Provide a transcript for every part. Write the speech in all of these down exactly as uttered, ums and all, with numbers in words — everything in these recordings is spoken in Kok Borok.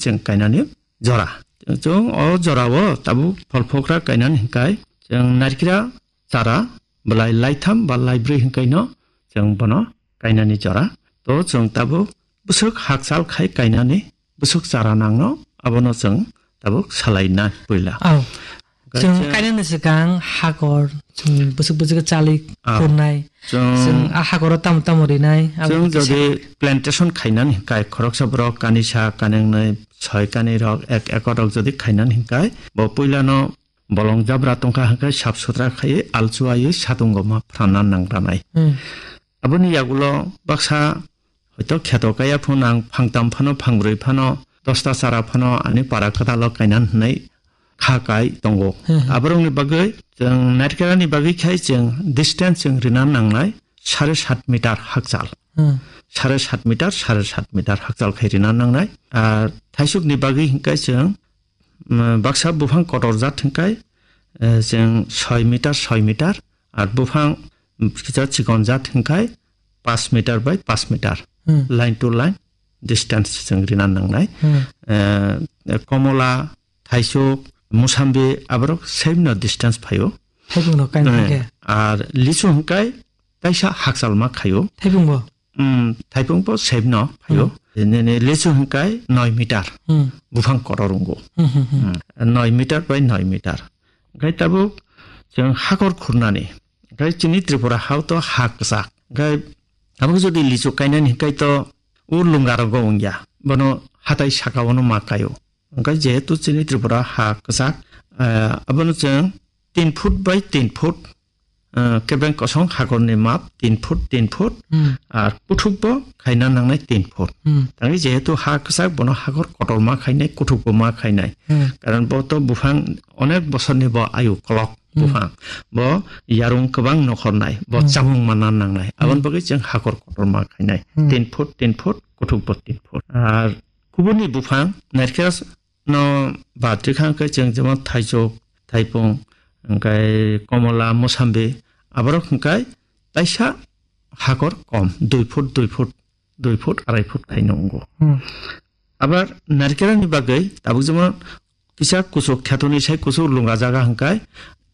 chwng kainani jora. Chwng o jorao tabuk pholphokra kainani hinkai chwng narikra chara belai laitham ba laibrwi hinkaino chwng bono kainani jora. To chwng tabuk bwswk hakchal khai kainani bwswk chara nangno abono chwng tabuk salaina puila. Aw. Chwng kainani swkang hakor, chwng bwswk bwswk chali Ah. khurnai. Chwng Chwng a hakoro tamo tamo rinai, abo Chwng kisa jodi plantation khainani hinkai khoroksa borok kanisa, kanengnwi, soi kanirok, ek ekorrok jodi khainani hinkai, bo puilano bolong jabra tongkha hinkai sap sutra khaiwi alchuaiwi satungo ma phrana nangranai. Hmm. Aboni yagulo baksa hoito kheto kaya phano ang phangtam phano, phangbrwi phano, dosta chara phano ani para kwtalo kainan hwnwi kha kai tongo. Hmm. Aborokni bagwi chwng narikarani bagwi khai chwng distance chwng rina nangnai sare sat meter hakchal. Hmm. Sare sat meter, sare sat meter hakchal khai rina nangnai. Ar thaisukni bagwi hinkai chwng, mm, baksa buphang kotor jat hinkai, eh, chwng soi meter, soi meter. Ar buphang, mm, kisa chikon jat hinkai pas meter by pas meter. Hmm. Line to line distance chwng rina nangnai. Hmm. Eh, komola, thaisuk, musambi aborok same no distance phaio. Thaibung no kain Eh, hwnkhe? Ar lichu hwnkhe kaisa hakchal ma khaio. Thaibung bo? Hmm, thaibung bo same no phaio. Hmm. Nini lichu hwnkhe noi meter. Hmm. Buphang kotor wngo. Hmm, hmm, hmm. Hmm, noi meter by noi meter. Hwnkhe tabuk chwng hakor khurnani. Hwnkhe chini Tripura hao to ha kwchak. Hwnkhe abo jodi lichu kainani hwnkhe to o lunga rogo wngya. Bono hatai saka ono ma kaio. Hwnkhe jehetu chini Tripura ha kwchak, eh, abono chwng tin foot by tin foot, eh, kebeng kosong hakorni map tin foot, tin foot, Hmm. ar kuthukbo khaina nangnai tin foot. Hmm. Tangwi jehetu ha kwchak bono hakor kotor ma khainai, kuthukbo ma khainai. Hmm. Karon bo to buphang onek bosorni bo ayu kolok Hmm. buphang. Bo yarung kwbang nokhornai, bo Hmm. chamung manna nangnai. Aboni Hmm. bagwi chwng hakor kotor ma khainai. Hmm. Tin foot, tin foot, kuthukbo tin foot. Ar kubuni buphang narikhe no bad rikha hwnkhe chwng jemon thaisuk, thaipung, hwnkhe komola, mosambi, aborok hwnkhe taisa hakor kom, dui foot, dui foot, dui foot, arai foot khaino wngo. Hmm. Abar narikarani bagwi tabuk jemon kisa kuchuk khetoni sai kuchuk lunga jaga hwnkhe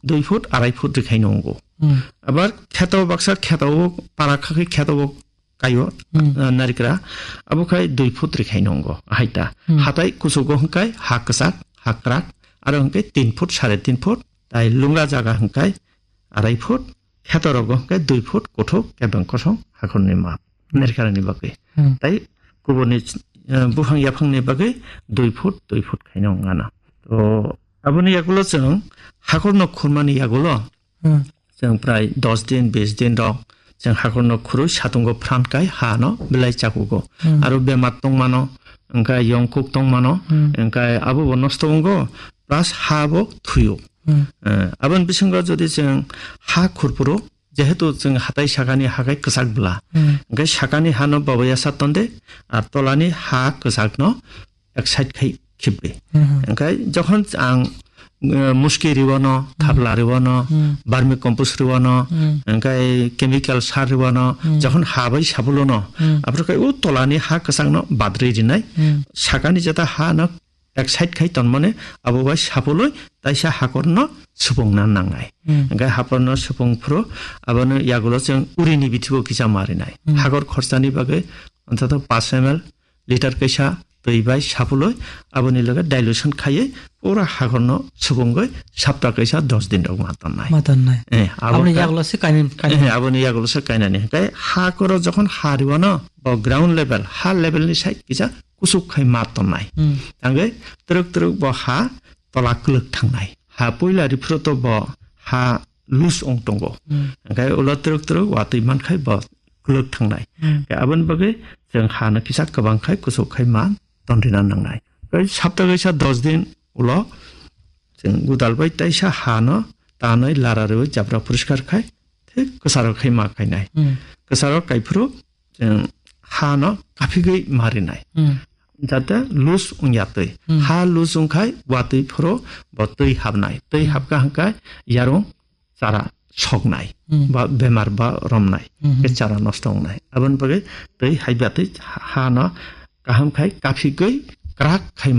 dui foot, arai foot rikhaino wngo. Hmm. Abar kheto baksa kheto o para khakhe kheto o kaio, Hmm. ah, narikra. Abo khai dui foot rikhaino wngo, haita. Hmm. Hatai kuchugo hwnkhe ha kwchak, ha kwrak, aro hwnkhe tin foot, sare tin foot, tai lunga jaga hwnkhe arai foot, khetorogo hwnkhe dui foot kuthuk kebeng kosong hakorni map, Hmm. narikarani bagwi. Hmm. Tai kuborni, eh, buphang yaphangni bagwi dui foot, dui foot khaino wngana. To aboni yagulo chwng hakorno khurmani yagulo Hmm. Chwng prai dos din, bis din rok chwng hakorno khurui satungo phrang kai ha no belai chakugo. Hmm. Aro bemar tongmano, wngkha yongkuk tongmano, Hmm. wngkha abo bo nosto wngo, plus ha bo thuio. Hmm. Eh, aboni bisingo jodi chwng ha khurphuru, jehetu chwng hatai sakani ha kai kwchak bwla, Hmm. hwnkhe sakani ha no babaya sa tonde, ar tolani ha kwchak no ek side khai khibwi. Mhm. Hwnkhe jokhon ang, eh, muski riwano, Hmm. thapla riwano, Hmm. vermi compost riwano, Hmm. hwnkhe chemical sar riwano, Hmm. jokhon ha bai sabulono, Hmm. aphuru khe o tolani ha kwchangno badri rinai, Hmm. sakani jeta ha no ek side khai tonmani abo bai sabuloi taisa hakorno supungna nangnai. Hmm. Hwnkhe hakorno supung phuru abono yagulo chwng urini bithibo kisa ma rinai. Hmm. Hakor khorsani bagwi ontoto paanch M L liter kaisa twi bai sapuloi aboni loge dilution khaiwi pura hakorno subungwi sapta kaisa dos din rok ma tonnai. Ma tonnai. Eh, abo Aboni ka- yagulo se kainani, kainani. Eh, aboni yagulo se kainani. Hwnkhe hakoro jokhon ha riwano bo ground level, ha level ni side kisa kuchuk khai ma tonnai. Hmm. Tangwi twrwk twrwk bo ha tola kwlwk thangnai. Ha puila riphuru to bo ha loose wng tongo. Hmm. Hwnkhe ulo twrwk twrwk watwi mankhai bo kwlwk thangnai. Hmm. Khe aboni bagwi chwng ha no kisa kwbang khai kuchuk khai ma tonrina nangnai. Khe sapta kaisa dos din ulo chwng godal bai taisa ha no tanwi lara rwi jabra poriskar khai thik kwcharo khai ma khainai. Hmm. Kwcharo kaiphuru chwng ha no kaphigwi ma rinai. Hmm. Jate loose wngya twi. Hmm. Ha loose wngkhai watwi phuru bo twi habnai. Twi Hmm. habkha hwnkhe yarung chara soknai. Hmm. Ba bemar ba romnai. Hmm. Khe chara nosto wngnai. Aboni bagwi twi haibatwi ha no kaham khai kaphigwi kwrak khai